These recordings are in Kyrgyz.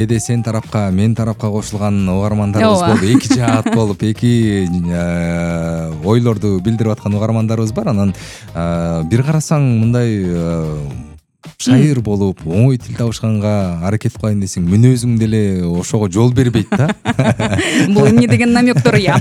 Кээде сен тарапка, мен тарапка кошулган угармандарыбыз болду. Эки жаат болуп, эки ойлорду билдирип аткан угармандарыбыз бар. Анан бир карасаң мындай шайыр болуп, оңой тил табышканга аракет кылайын десең, мүнөзүң деле ошого жол бербейт да. Бул эмне деген намектор я.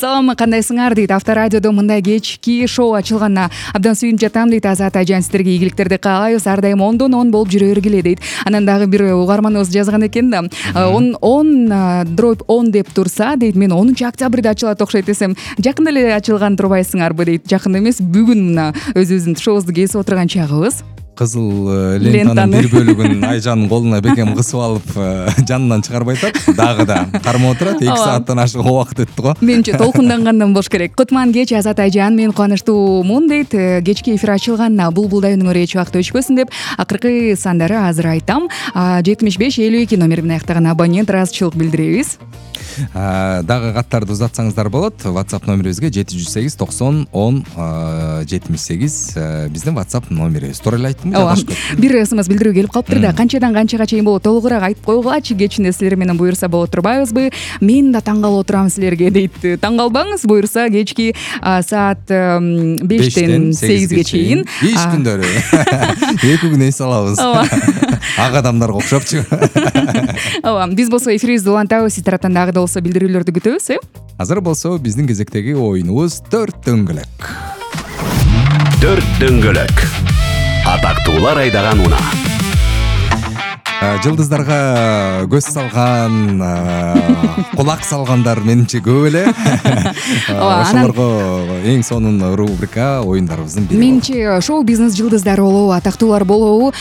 Салам, кандайсыңар дейт. Авторадиодо мындай кечки шоу ачылганына абдан сүйүнүп жатам дейт Азат Айжан. Сиздерге ийгиликтерди каалайбыз. Ар дайым 10/10 болуп жүрө бергиле дейт. Анан дагы бир угарманыбыз жазган экен да. 10/10 деп турса дейт, мен 10-октябрда ачылат окшойт десем, жакында эле ачылган турбайсыңарбы дейт. Жакында эмес, бүгүн мына өзүбүздүн шоубузду кесип отурган чагыбыз. Кызыл лентанын бир бөлүгүн Айжандын колуна бекем кысып алып, жанынан чыгарбай атат. Дагы да кармап отурат. 2 сааттан ашык убакыт өттү го. Менимче толкундангандан болуш керек. Кутман кеч Азат Айжан, мен кубанычтуумун дейт. Кечки эфир ачылганына булбулдай үнүңөр эч убакыт өчпөсүн деп акыркы сандары азыр айтам. 75-52 номер менен аяктаган абонент ыраазычылык билдиребиз. Дагы каттарды узатсаңыздар болот. WhatsApp номерибизге 708 90 10 78 биздин WhatsApp номерибиз. Туура эле айттым. Бир SMS билдирүү келип калыптыр да. Канчадан канчага чейин болот? Толугураак айтып койгулачы. Кечинде силер менен буюрса болот турбайбызбы? Мен да таң калып отурам силерге дейт. Таң калбаңыз, буюрса кечки саат 5-тен 8ге чейин. Иш күндөрү. 2 күн эс алабыз. Ак адамдарга окшопчу. Биз болсо эфирибизди улантабыз. Сиз тараптан дагы да болсо билдирүүлөрдү күтөбүз, Азыр болсо биздин кезектеги оюнубуз 4 дөңгөлөк. 4 дөңгөлөк. Атактуулар айдаган унаа. Жылдыздарга көз салган, кулак салгандар менимче көп эле. Ошолорго эң сонун рубрика оюндарыбыздын бири. Менимче шоу бизнес жылдыздары болобу, атактуулар болобу,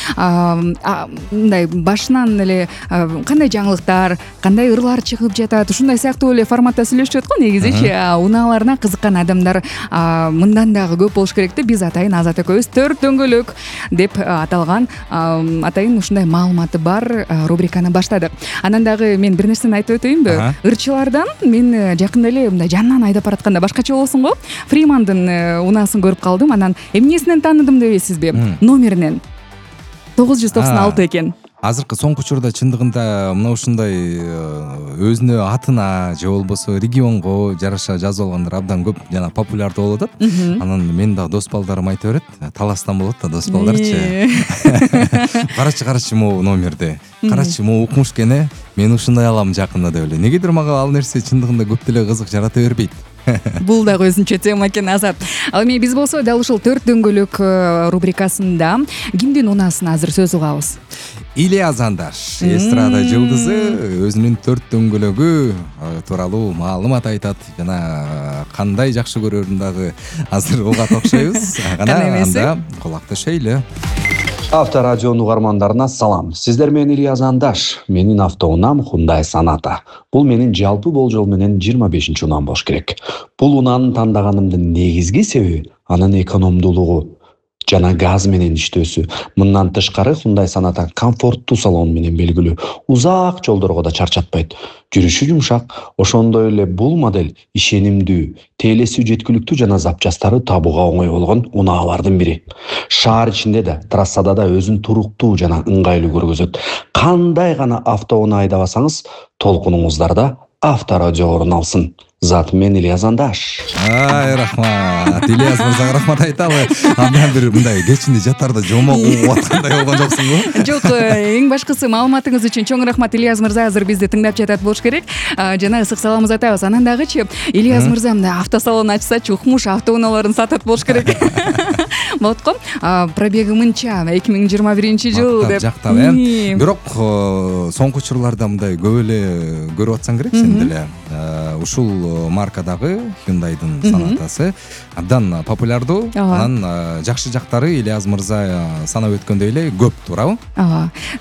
мындай башынан эле кандай жаңылыктар, кандай ырлар чыгып жатат, ушундай сыяктуу эле форматта сүйлөшүп го негизичи. Унааларына кызыккан адамдар мындан дагы көп болуш керек деп биз атайын Азат экөөбүз 4 дөңгөлөк деп аталган атайын ушундай маалыматы бар рубриканы баштадык. Анан дагы мен бир нерсени айтып өтөйүнбү? Ырчылардан мен жакында эле мындай жанынан айдап баратканда башкача болосуң го. Фримандын унаасын көрүп калдым. Анан эмнесинен тааныдым дебейсизби? Номеринен. 996 экен. Азыркы соңку учурда чындыгында мына ушундай өзүнө атына же болбосо регионго жараша жазып алгандар абдан көп жана популярдуу болуп атат. Анан мен да дос балдарым айтып берет, таластан болот да дос балдарчы. Карачы могу номерди. Карачы могу укмуш экен, мен ушундай алам жакында деп эле. Негедир мага ал нерсе чындыгында көп деле кызык жарата бербейт. Бул дагы өзүнчө тема экен, Азат. Ал эми биз болсо дал ушул 4 дөңгөлөк рубрикасында кимдин унаасын азыр сөз угабыз? Ильяс Андаш, эстрада жылдызы, өзүнүн 4 дөңгөлөгү тууралуу маалымат айтат жана кандай жакшы көрөрүн дагы азыр угат окшойбуз. Анда кулак төшөйлү. Авторадионун угармандарына салам. Сиздер менен Ильяс Андаш. Менин автоунаам Hyundai Sonata. Бул менин жалпы болжол менен 25-чи унаам болуш керек. Бул унааны тандаганымдын негизги себеби анын экономдуулугу жана газ менен иштөөсү. Мындан тышкары Hyundai Sonata комфорттуу салон менен белгилүү. Узак жолдорго да чарчатпайт. Жүрүшү жумшак. Ошондой эле бул модель ишенимдүү, тейлеси жеткиликтүү жана запчастары табууга оңой болгон унаалардын бири. Шаар ичинде да, трассада да өзүн туруктуу жана ыңгайлуу көргөзөт. Кандай гана автоунаа айдабасаңыз, толкунуңуздарда Авторадио орун алсын. Зат мен Ильяс Андаш. Рахмат. Ильяс мырзага рахмат айталы. Андан бир мындай кечинде жатарда жомок угуп аткандай болгон жоксуңбу? Жок, эң башкысы маалыматыңыз үчүн чоң рахмат. Ильяс мырза азыр бизди тыңдап жатат болуш керек. Жана ысык саламыбызды айтабыз. Анан дагычы Ильяс мырза мындай автосалон ачсачы, укмуш автоунааларын сатат болуш керек. Болот го. Пробеги мынча 2021-жыл деп. Жактап, бирок соңку учурларда мындай көп эле көрүп атсаң керек сен деле. Ушул маркадагы Hyundai'дын Sonatасы абдан популярдуу. Анан жакшы жактары Ильяс мырза санап өткөндөй эле көп, туурабы?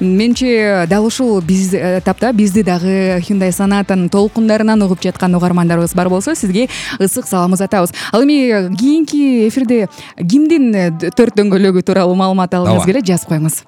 Менче дал ушул биз тапта бизди дагы Hyundai Sonatанын толкундарынан угуп жаткан угармандарыбыз бар болсо, сизге ысык саламыбызды атабыз. Ал эми кийинки эфирде кимдин 4 дөңгөлөгү тууралуу маалымат алгыңыз келет, жазып коюңуз.